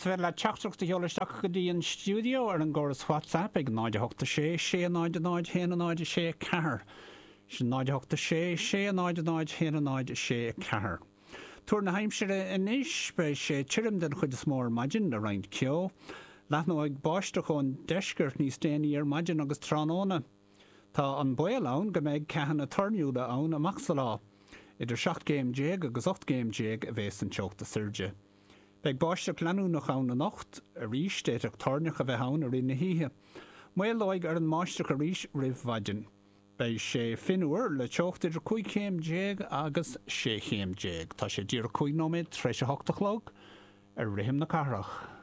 Is féidir leat teachtaireacht a sheoladh isteach go dtí an stiúideo ar an gcóras WhatsApp ag 0 8 6 6 0 0 1 0 6 4. Sin 0 8 6 6 0 0 1 0 6 4. Tuar na haimsire anois, beidh sé tirim den chuid is mó ar maidin le roinnt ceo. Leathnóidh báisteach ón deisceart níos déanaí ar maidin agus tráthnóna. Tá an baol ann go mbeidh ceathanna toirniúla ann amach sa lá. Idir 17 gcéim agus 18 gcéim a bheas an teocht is airde. Beidh báisteach leanúnach ann anocht. Arís, d'fhéadfadh toirneach a bheith ann i rith na hoíche. Maolóidh ar an mbáisteach arís roimh mhaidin. Beidh sé fionnuar le teocht idir 15 chéim agus 16 chéim. Tá sé díreach 5 nóiméad tar éis a hocht a chlog ar rithim na cathrach.